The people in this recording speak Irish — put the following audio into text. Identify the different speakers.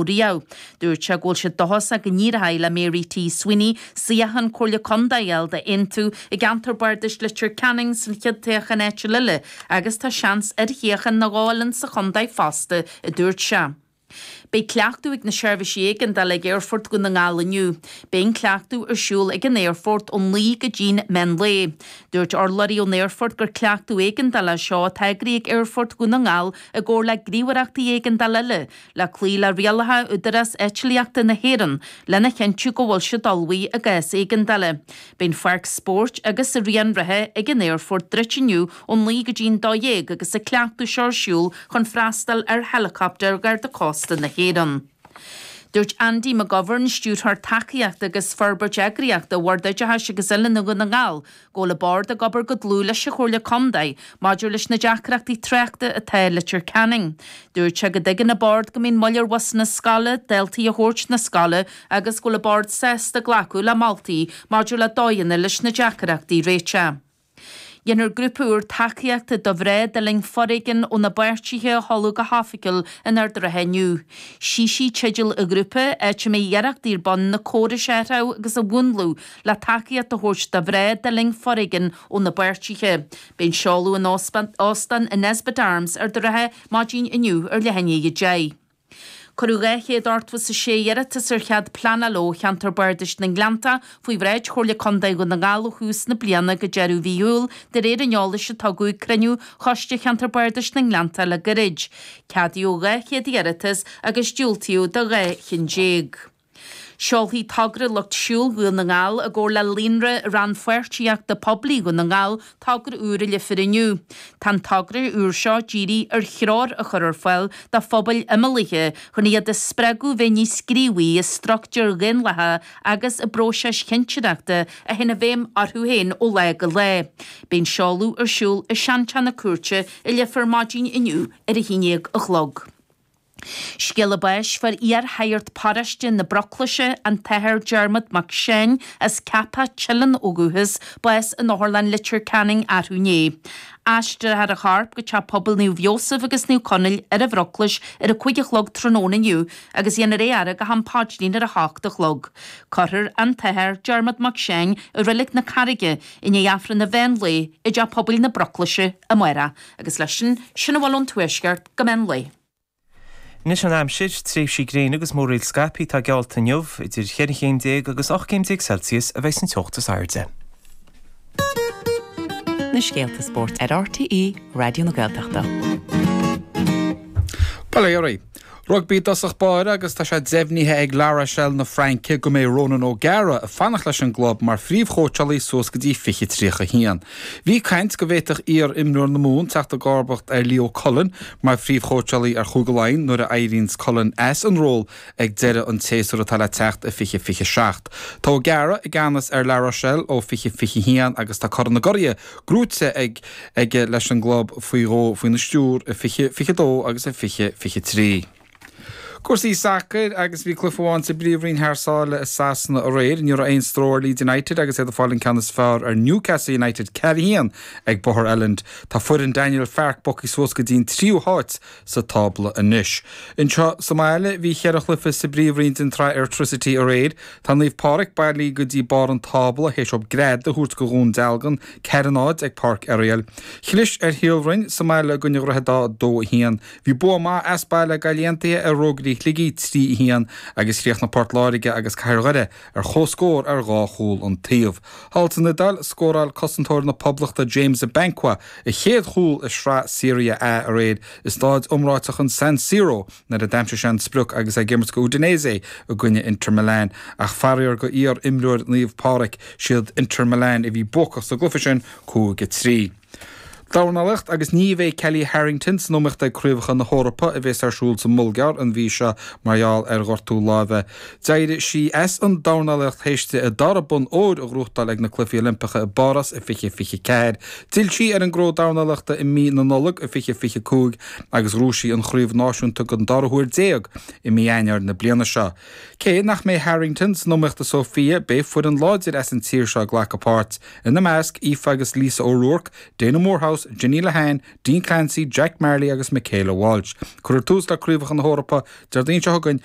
Speaker 1: Riamh. Dúirt sé go bhfuil sé dóchasach go n-éireoidh le Mary T. Sweeney suíochán Comhairle Contae a fháil d'Aontú i gceantar bardais Leitir Ceanainn san chéad toghchán áitiúil eile agus tá seans ar shuíochán nó dhó eile sa chontae fosta, a dúirt sé. Beidh cleachtadh ag na seirbhísí éigeandála ag Aerfort Dhún na nGall inniu. Beidh an cleachtadh ar siúl ag an aerfort ó 9 go dtí'n meán lae. Dúirt urlabhraí ón aerfort gur cleachtadh éigeandála é seo atá eagraithe ag Aerfort Dhún na nGall i gcomhar le gníomhaireachtaí éigeandála eile le cloí le rialacha Údarás Eitlíochta na hÉireann lena chinntiú go bhfuil siad ullmhaithe i gcás éigeandála. Beidh an pháirc spóirt agus an raon reatha ag an aerfort druidte inniu ó 9 go dtí'n 12 agus an cleachtadh seo ar siúl chun freastal ar heileacaptair Gharda Cósta na hÉireann. Dúirt Andy McGovern, Stiúrthóir Tacaíochta agus Forbairt Eagraíochta Bhord Oideachais agus Oiliúna Dhún na nGall, go bhfuil an Bord ag obair go dlúth leis an Chomhairle Contae maidir leis na deacrachtaí tráchta atá i Leitir Ceanainn. Dúirt sé go dtuigeann an Bord go mbíonn moill ar bhusanna scoile daltaí a thabhairt 'na scoile agus go bhfuil an Bord sásta glacadh le moltaí maidir le dóigheanna leis na deacrachtaí a réiteach. Déanfar grúpa úr tacaíochta do mhná a d'fhulaing foréigean óna bpáirtithe a sheoladh go hoifigiúil in Ard an Rátha inniu. Sí Sí teideal an ghrúpa, áit a mbeidh iarrachtaí ar bun na córais a athrú agus a mhúnlú le tacaíocht a thabhairt do mhná a d'fhulaing foréigean óna bpáirtithe. Beidh an seoladh in Óstán an Nesbitt Arms, Ard an Rátha, maidin inniu ar leath i ndiaidh 10. Cuireadh 286 iarratas ar chead pleanála ó Cheantar Bardais na nGleanntach faoi bhráid Chomhairle Contae Dhún na nGall ó thús na bliana go deireadh mhí Iúil, de réir an eolais a tugadh ag cruinniú Choiste Cheantar Bardais na nGleanntach le gairid. Ceadaíodh 200 iarratas agus diúltaíodh do 12 chinn. Seolfaidh Togra Lucht Siúil Dhún na nGall i gcomhar le Líonra Rannpháirtíochta Poiblí Dhún na nGall togra úr i Leifear inniu. Tá an togra úr seo dírithe ar threoir a chur ar fáil do phobail imeallaithe chun iad a spreagadh bheith níos gníomhaí i struchtúir dhaonlathacha agus i bpróisis chinnteoireachta a théann i bhfeidhm orthu féin ó lá go lá. Beidh an seoladh ar siúl i Seanteach na Cúirte i Leifear maidin inniu ar a haon déag a chlog. Scéala báis Fuair iar-shagart paróiste na Broclaise, an tAthair Diarmuid Mac Seáin, as Ceapach Teileann ó dhúchas, bás in Otharlann Leitir Ceanainn arú inné. Aistreofar a chorp go Teach Pobail Naomh Iósaf agus Naomh Conaill ar an Bhroclais ar a 5 a chlog tráthnóna inniu agus dhéanfar é a fhaire go ham paidrín ar a hocht a chlog. Cuirfear an tAthair Diarmuid Mac Seáin i Reilig na Carraige i ndiaidh Aifreann an mheán lae i dTeach Pobail na Broclaise amárach. Agus leis sin, sin a bhfuil ón Tuaisceart go meán lae.
Speaker 2: Anois an aimsir, tréimhsí gréine agus múraíl scaipthe atá geallta inniu, idir cheithre chéim déag agus 18 céim Celsius a bheidh san teocht is airde.
Speaker 3: Na scéalta spóirt ar RTÉ Raidió na Gaeltachta.
Speaker 4: Bail ó Dhia oraibh. Rugbaí i dtosach báire agus tá sé deimhnithe ag La Rochelle na Fraince go mbeidh Ronan O'Gara ag fanacht leis an gclub mar phríomhchóitseálaí suas go dtí 2031. Bhí caint go bhféadfadh iar-imreoir na Mumhan teacht i gcomharbacht ar Leo Cullen mar phríomhchóitseálaí ar Chúige Laighean nuair a éiríonns Cullen as an ról ag deireadh an tséasúir atá le teacht i 2027. Tá O'Gara i gceannas ar La Rochelle ó 2021 agus tá Corn na gCuradh gnóite ag aige leis an gclub faoi dhó faoina stiúr i 2022 agus i 2023. Cúrsaí sacair agus bhí cluiche amháin sa bPríomhroinn thar sáile i Sasana aréir. Ní raibh aon stró ar Leeds United agus iad ag fáil an ceann is fearr ar Newcastle United 4-1 ag Bóthar Elland. Tá foireann Daniel Farke bogtha suas go dtí an tríú háit sa tábla anois. Anseo sa mbaile bhí cheithre chluiche sa bPríomhroinn den tSraith Airtricity aréir. Tá Naomh Pádraig bailithe go dtí barr an tábla théis dóibh greadadh a thabhairt go Dhún Dealgan 4-0 ag Páirc Oiriall. Chlis ar Shíol Bhroin sa mbaile i gcoinne Dhroichead Átha 2-1. Bhí bua maith as baile ag Gaillimh Aontaithe ar Rógairí Shligigh 3-1 agus chríochnaigh Port Láirge agus Cathair Dhoire ar comhscór ar dhá chúl an taobh. Thall san Iodáil, scóráil cosantóir na Poblachta James Abankwah a chéad chúl i sraith Serie A aréir i staid iomráiteach an San Siro. nuair a d'aimsigh sé an sprioc agus é ag imirt go Udinese i gcoinne Inter Milan ach faraor go iar-imreoir Naomh Pádraig, siad Inter Milan a bhí buacach sa gcluiche sin, 5-3. Dornálaíocht agus ní bheidh Kellie Harrington san iomaíocht ag Craobhacha na hEorpa a bhéas ar siúl sa mBulgáir an mhí seo mar gheall ar ghortú láimhe. D'éirigh sí as an dornálaíocht théis di a dara bonn óir a ghnóthachtáil ag na Cluichí Oilimpeacha i bPáras i 2024. D'fhill sí ar an ngnó dornálaíochta i mí na Nollag i 2025 agus ghnóthaigh sí an chraobh náisiúnta den dara huair déag i mí Eanáir na bliana seo. Cé nach mbeidh Harrington san iomaíocht i Sofia, beidh foireann láidir as an tír seo ag glacadh páirt, ina measc, Aoife agus Lisa O'Rourke, Dana Moorhouse. Pearse, Jenny Lehane, Dean Clancy, Jack Marley agus Michaela Walsh. Cuirfear tús le Craobhacha na hEorpa Déardaoin seo chugainn, an.